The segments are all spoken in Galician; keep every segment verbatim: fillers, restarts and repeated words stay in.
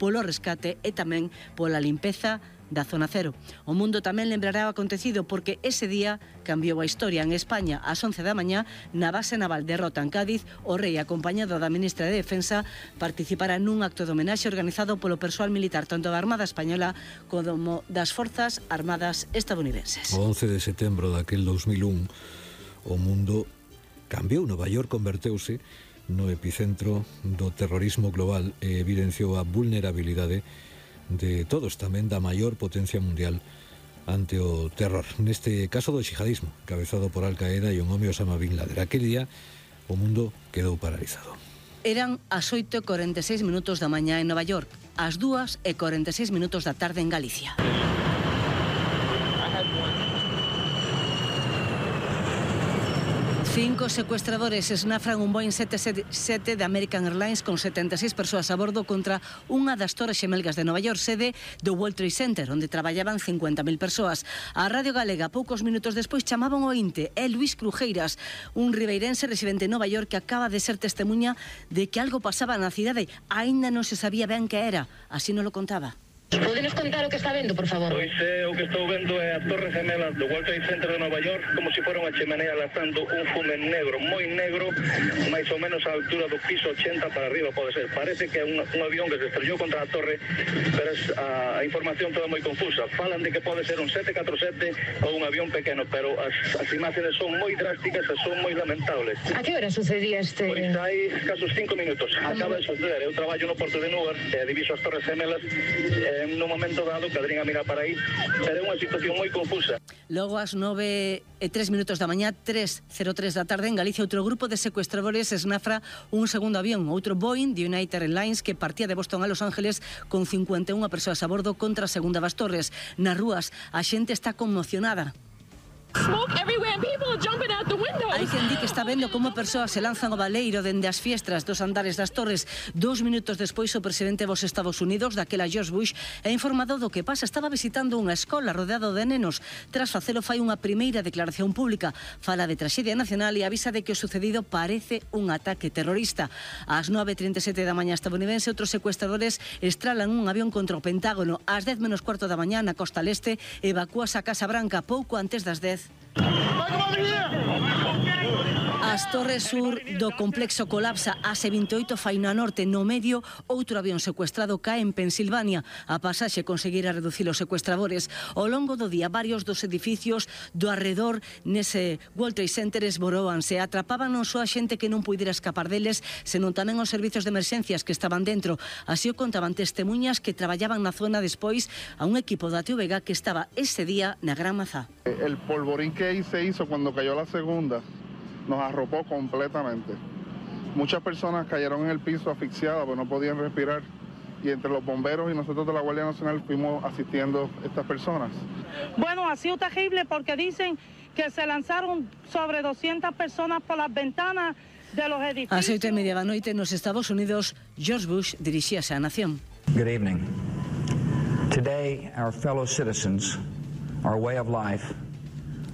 polo rescate e tamén pola limpeza da zona cero. O mundo tamén lembrará o acontecido porque ese día cambiou a historia. En España, ás once da mañá, na base naval de Rota, en Cádiz, o rei, acompañado da ministra de Defensa, participará nun acto de homenaxe organizado polo persoal militar tanto da Armada Española como das Forzas Armadas estadounidenses. O once de setembro daquel dos mil un, o mundo cambiou. Nova York converteuse no epicentro do terrorismo global e evidenciou a vulnerabilidade de todos, tamén da maior potencia mundial ante o terror. Neste caso do xihadismo, cabezado por Al-Qaeda e un home Osama Bin Laden. Aquel día o mundo quedou paralizado. Eran as oito e corenta e seis minutos da mañá en Nova York, as dúas e corenta e seis minutos da tarde en Galicia. Cinco secuestradores esnafran un Boeing sete sete sete de American Airlines con setenta e seis persoas a bordo contra unha das torres xemelgas de Nova York, sede do World Trade Center, onde traballaban cincuenta mil persoas. A Radio Galega, poucos minutos despois, chamaban o Inte e Luis Crujeiras, un ribeirense residente en Nova York que acaba de ser testemunha de que algo pasaba na cidade. Aínda non se sabía ben que era, así non lo contaba. Podenos contar o que está vendo, por favor? Pois eh, o que estou vendo é a Torre Gemela do World Trade Center de Nova York, como se fora unha chimenea lanzando un fume negro, moi negro, máis ou menos a altura do piso ochenta para arriba, pode ser. Parece que é un, un avión que se estrellou contra a torre, pero es, a, a información toda moi confusa. Falan de que pode ser un sete catro sete ou un avión pequeno, pero as, as imágenes son moi drásticas e son moi lamentables. A que hora sucedía este...? Pois hai casos cinco minutos. Acaba de suceder. Eu traballo no Porto de Newark, e diviso as Torres Gemelas, e en un momento dado cadrín a mirar para aí, pero é unha situación moi confusa. Logo ás nove e tres minutos da mañá, tres cero tres da tarde, en Galicia, outro grupo de secuestradores esnafra un segundo avión, outro Boeing de United Airlines que partía de Boston a Los Ángeles con cincuenta e unha persoas a bordo contra a segunda das Torres. Nas rúas a xente está conmocionada. Smoke everywhere and people are jumping out the windows. Hai quen di que está vendo como persoas se lanzan ao baleiro dende as fiestras dos andares das torres. Dous minutos despois, o presidente dos Estados Unidos, daquela George Bush, é informado do que pasa. Estaba visitando unha escola rodeado de nenos. Tras facelo, fai unha primeira declaración pública. Fala de traxedia nacional e avisa de que o sucedido parece un ataque terrorista. Ás nove e trinta e sete da mañá estadounidense, outros secuestradores estralan un avión contra o Pentágono. Ás dez menos cuarto da mañá, na costa leste, evacúase a Casa Branca pouco antes das dez. As torres sur do complexo colapsa. Ás vinte e oito fai na norte. No medio, outro avión secuestrado cae en Pensilvania. A pasaxe conseguira reducir os secuestradores. Ao longo do día, varios dos edificios do arredor nese World Trade Center esboróanse. Atrapaban non só a xente que non puidera escapar deles, senón tamén os servizos de emerxencias que estaban dentro. Así o contaban testemuñas que traballaban na zona despois a un equipo da T V G que estaba ese día na Gran Mazá. El polvorín que ahí se hizo cuando cayó la segunda nos arropó completamente. Muchas personas cayeron en el piso asfixiadas porque no podían respirar, y entre los bomberos y nosotros de la Guardia Nacional fuimos asistiendo a estas personas. Bueno, ha sido terrible porque dicen que se lanzaron sobre doscientas personas por las ventanas de los edificios. A oito e media da noite nos Estados Unidos, George Bush dirixíase á nación. Good evening. Today, our fellow citizens, our way of life,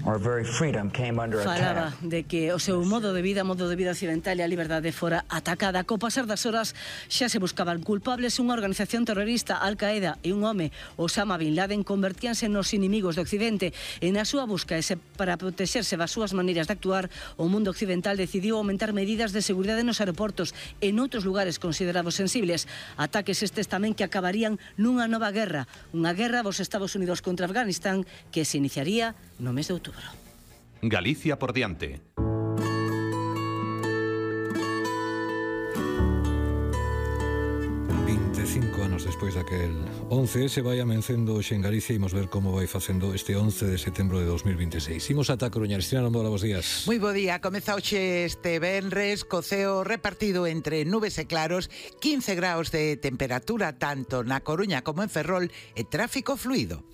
our very freedom came under attack. Falaba de que o seu modo de vida, modo de vida occidental e a liberdade fora atacada. Co pasar das horas xa se buscaban culpables. Unha organización terrorista, Al-Qaeda, e un home, Osama Bin Laden, convertíanse nos inimigos do Occidente. E na súa busca, e para protexerse das súas maneiras de actuar, o mundo occidental decidiu aumentar medidas de seguridade nos aeroportos e noutros lugares considerados sensibles. Ataques estes tamén que acabarían nunha nova guerra. Unha guerra dos Estados Unidos contra Afganistán que se iniciaría no mes de outubro. Galicia por diante. veinticinco anos despois daquel once, se vai amencendo hoxe en Galicia. Imos ver como vai facendo este once de setembro de dos mil veintiséis. Imos ata Coruña. Cristina Lombola, bos días. Moi bo día. Comeza hoxe este venres co ceo repartido entre nubes e claros, quince graus de temperatura tanto na Coruña como en Ferrol e tráfico fluido.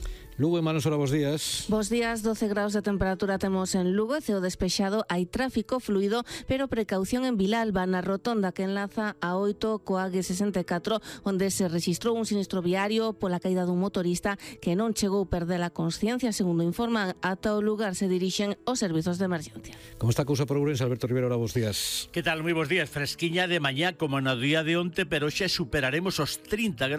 Lugo e Manos, hola, bos días. Bos días, doce graus de temperatura temos en Lugo, ceo despexado, hai tráfico fluido, pero precaución en Vilalba, na rotonda que enlaza a oito coa A G sesenta e catro, onde se registrou un sinistro viario pola caída dun motorista que non chegou a perder a consciencia, segundo informan. Ata o lugar se dirixen os servizos de emergencia. Como está a cousa por Ourense? Alberto Rivera, hola, bos días. Que tal? Moi bos días. Fresquiña de mañá como no día de onte, pero xa superaremos os trinta graus.